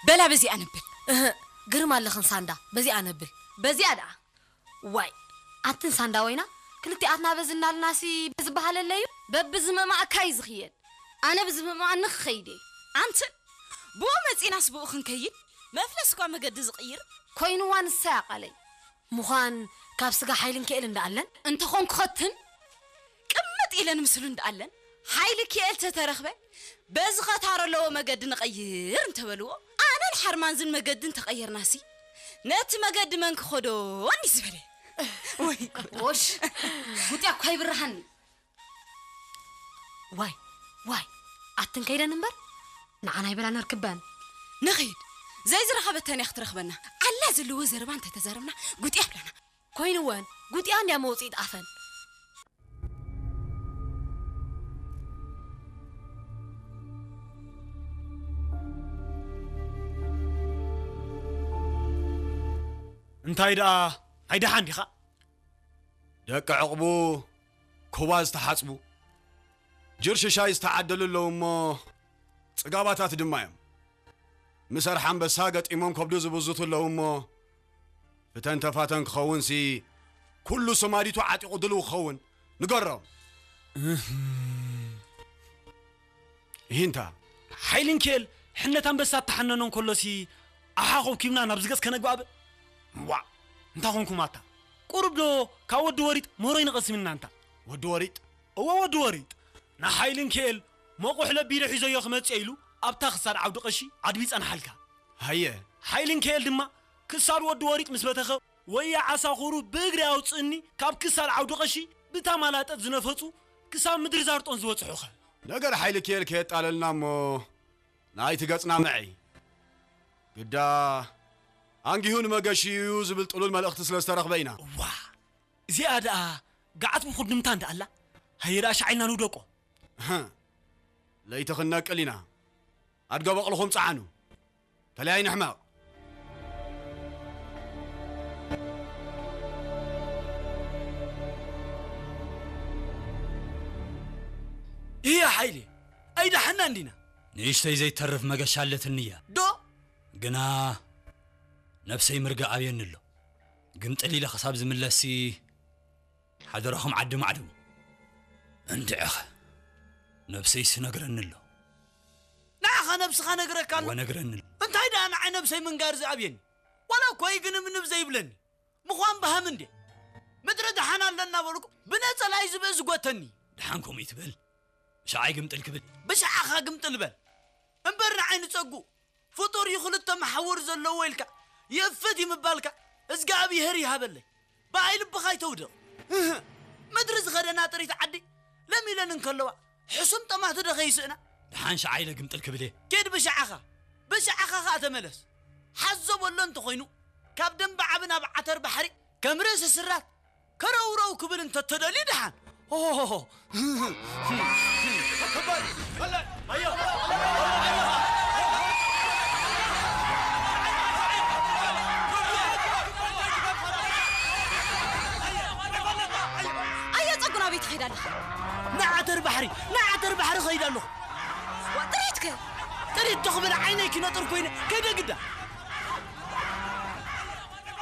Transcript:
በላ በዚኣ ነብል። እህ፣ ግርም ኣለኽን ሳንዳ፣ በዚኣ ነብል። በዚኣ ደኣ። ዋይ፣ ኣትን ሳንዳ ወይና፣ ክልቲኣትና በዚ እናልናሲ በዚ በሃለለዩ? በብዝመማእካ እዩ ዝኽየድ። ኣነ ብዝመማኣኒ ክኸይድ እየ። ኣንትን፣ ብኡ መጺናስ ብኡ ክንከይድ? መፍለስ እኳ መገዲ ዝቕይር። ኮይንዋ ንሳ እያ ቃለይ። ምዃን ካብ ስጋ ሓይልን ክኤል እንዳኣለን? እንተኾንኩ ኸትን፣ ቅምጥ ኢለን ምስሉ እንዳኣለን፣ ሓይሊ ክኤል ተተረኽበ፣ በዚ ኸታሮ ኣለዎ መገዲ ንቐይር እንተበልዎ፣ ኣነን ሓርማንዝን መገዲ እንተቐየርናሲ፣ ነቲ መገዲ መን ክኸዶ እንዲ ዝበለ። ወይ ጉድ። ኦሽ፣ ጉጥያ እኳ ይብርሃኒ። ዋይ፣ ዋይ፣ ኣትን ከይደን እምበር፣ ንዓና ይበላ ነርክበን። ንኺድ፣ ዘይዝረኸበተን እያ ክትረኽበና። ኣላ ዘለዎ ዘረባ እንተተዛረብና፣ ጉጥያ ብላና። ኮይንወን፣ ጉጥያ እንድያ መውጽኢት ኣፈን። እንታይ ደኣ፣ ኣይደሓን ዲኻ? ደቂ ዕቕቡ ኩባ ዝተሓጽቡ፣ ጅርሽሻይ ዝተዓደሉ ኣለዉ እሞ፣ ጽጋባታት ድማ እዮም። ምስ ኣርሓ ኣንበሳ ገጢሞም ከብዱ ዝብዝቱ ኣለዉ እሞ፣ ፍተን ተፋተን ክኸውንሲ፣ ኩሉ ሰማዲቱ ዓጢቑ ድልው ክኸውን ንገሮም። እህ። ይሂንታ። ሓይሊ ንኬል ሕነት ኣንበሳ እተሓነኖ እንከሎሲ፣ ኣሓ ኮብኪብና ናብ ዝገጽ ከነግባእ ብ-፣ ዋእ፣ እንታይ ኾንኩም ኣታ? ቁሩብ ዶ ካብ ወዲ ወሪጥ ሞሮይ ንቐስም ኢና እንታ? ወዲ ወሪጥ? እወ፣ ወዲ ወሪጥ። ንሓይሊ ንኬል መቑሕ ለቢደ ሒዘዮ ክመጽእ ኢሉ ኣብታ ክሳድ ዓውዲ ቀሺ ኣድቢ ጸንሓልካ። ሃየ። ሓይሊ ንኬል ድማ ክሳድ ወዲ ወሪጥ ምስ በተኸ፣ ወያ ዓሳ ኹሩ ብእግሪ ኣውጽእኒ ካብ ክሳድ ዓውዲ ቀሺ ብታ ማላጠት ዝነፈጹ ክሳብ ምድሪ ዛርጦን ዝበጽሑኸ። ነገር ሓይሊ ኬል ከየጣለልና እሞ ናይቲ ገጽና ምዒ። ግዳ ኣንጊሁ ንመገሺ እዩ ዝብል ጥሉል መልእኽቲ ስለ ዝተረኽበ ኢና። እዋ፣ እዚኣ ደኣ ገዓት ብኹድምታ እንዳ ኣላ። ሃየ ደኣ ሻዕ ኢልና ንውደቆ። እህ፣ ለይቲ ክንነቅል ኢና። ኣድገ በቕልኹም ጸዓኑ። ተለያይ ንሕመቕ። እያ ሓይሊ፣ ኣይደሓና እንዲና። ንእሽተይ ዘይተርፍ መገሻ ኣለትኒ እያ። ዶ? ግና ነብሰይ ምርጋእ ኣብየኒ ኣሎ። ግምጥል ኢለ ክሳብ ዝምለስሲ ሓደራኹም ዓዲ ማዕድሙ። እንድዕኸ ነብሰይስ ነግረኒ ኣሎ። ንዓኻ ነብስኻ ነግረካ ኣሎ? እወ፣ ነግረኒ ኣሎ። እንታይ ደኣ ንዓይ ነብሰይ ምንጋር ዝኣብየኒ? ዋላ እኮ ይግንብንብ ዘይብለኒ። ምዃን በሃም እንዴ? ምድሪ ደሓን ኣለና በልኩ፣ ብነጸላይ ዝብኢ ዝጎተኒ። ደሓን ከምኡ ይትበል። ብሻዓይ ግምጥል ክብል። ብሻዓኻ ግምጥል በል። እምበር ንዓይ ንጸጉ ፍጡር እዩ ክልተ መሓውር ዘለዎ ኢልካ ይእፍት እዩ ምባልካ እዝጋኣብሄር ይሃበለይ። ብኣይ ልብኻ ኣይተውድቕ። እህ፣ ምድሪ ዝኸደና ጥሪት ዓዲ ለሚለን እንከለዋ ሕሱም ጠማቲ ዶ ከይስእና? ደሓን ሸዓ ኢለ ግምጥል ክብል እየ። ኪድ ብሸዓኻ፣ ብሸዓኻ ኸኣ ተመለስ። ሓዞ በሎ እንተኾይኑ ካብ ደንበ ዓቢ ናብ ዓተር ባሕሪ ከም ርእሲ ስራት ከረውረው ክብል እንተተደልዩ ደሓን። ሆሆሆሆ። ኣየ ጸጉ ናበይ ትኸይድ ኣለኻ? ንዓተር ባሕሪ፣ ንዓተር ባሕሪ ኸይድ ኣለኹ። ጥሪትከ? ጥሪት ተኽብል ዓይነይ ክነጥር ኮይነ ከይደ ግዳ።